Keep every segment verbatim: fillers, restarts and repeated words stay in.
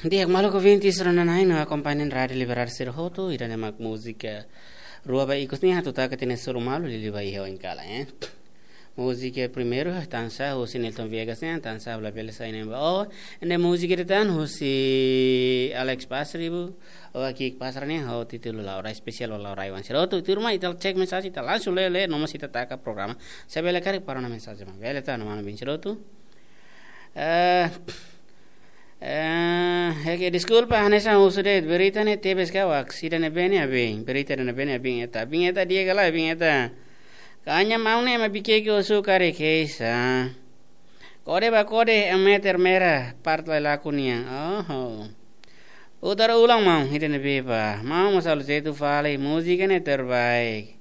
Di'ak, maluk ouvintes rona-na'in no akompañante Rádiu Liberdade sira hotu, ida-ne'e mak múzika rua ba ikus nian atu taka tiha ona suru malu liuliu ba iha oin kalan, eh. Múzika primeiru, Tansa, husi Nilton Viegas nian, Tansa, labele sai ne'ebá. Oh, ne'e múzika ida tan, husi Alex Pasaribu, oh, Kik Pasra nian, ho títulu Laurai, espesiál ba Laurai-oan sira hotu. Tuirmai ita cek mensajen, ita langsung lee, lee, no mós ita taka programa. Se bele karik para ona mensajen, bele tan, no mano bin sira hotu. Eh, eh, oke, deskulpa, hanesan husu de'it, berita ne'e tebes kawak, sira ne'ebé ne'e abin, berita ne'ebé ne'e abin eta, abin eta di'ak ka lae, abin eta. Kaña maun ne'e ema bikeke husu karik keisa. Kode ba kode, em meter merah, part lai laku nian. Oho. Utar ulang maun, ida ne'ebé ba. Maun mós halo jeitu fali, múzika ne'e terbaik.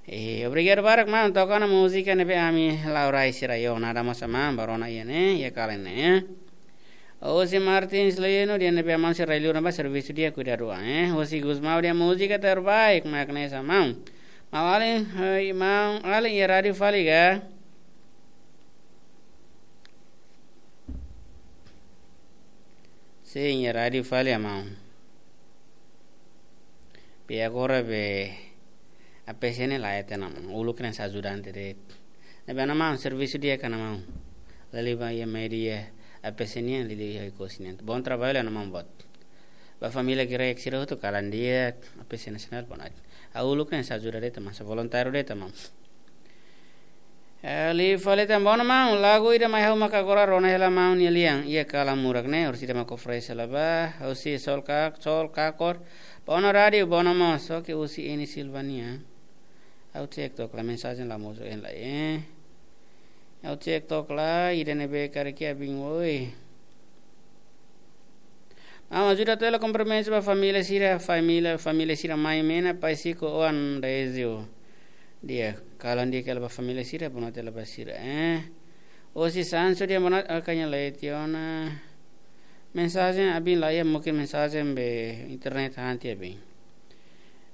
Eh, obrigadu barak maun, toka ona múzika ne'ebé ami Laurai sira yo, nada mós maun, ba rona iha ne'e, iha kalan ne'e. José Martins Leno, ida ne'ebé maun sira liu na ba servisu di'ak kuidadu an, eh. José Gusmão, ida múzika terbaik, mak ne'e sa maun. Maun alin, hei, maun alin iha rádiu fali ka? Sin, iha rádiu fali, maun. Be agora be A P C ne'e la iha tan, maun. Uluk ne'e sai ajudante de'it. Ne'ebé maun, servisu di'ak ka maun. Liuliu ba iha média A P C nian, liuliu iha Oe-Kusi nian. Bom trabalho, maun, boot. Ba família Grek sira hotu kalan di'ak, A P C Nasionál, boot. Uluk ne'e sai ajuda de'it, maun, sai voluntáriu de'it, maun. Eh, liu fali tan, boot maun, lagu ida mai ha'u maka agora rona hela maun nia lian, iha kalan murak ne'e, orsida maka oferese la ba, husi Sol Ka-, Sol Kakor, boot rádiu, boot mós, oke, husi Eni Silvania. Ha'u cek took la mensajen la mosu en la, eh. Ha'u cek took la, ida ne'ebé karik iha bin oi. Maun ajuda to'o hela komprimentu ba família sira, família, família sira mai Mena, Pai Siko, Oan Rezio. Di'ak, kalan di'ak hela ba família sira, boot hela ba sira, eh. Husi Sansu di'ak, boot, ah, kaña leti ona. Mensajen abin la iha, mungkin mensajen be internet hanti abin.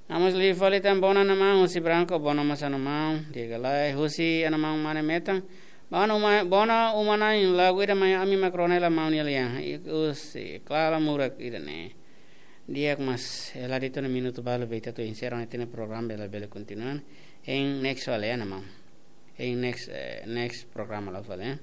Maun mós liu fali tan, boot maun, husi Branco, boot mós maun, di'ak ka lae, husi maun Mane Metan. Maun uma, boot uma-na'in, lagu ida mai ami mak rona hela maun nia lian. I, husi, kalan murak ida ne'e. Di'ak, mas, eh, la de'it ona minutu balu be ita atu enserra ona ita-nia programa, bele, bele kontinua. Hein next fali, eh, maun. Hein next, eh, next programa la fali, eh.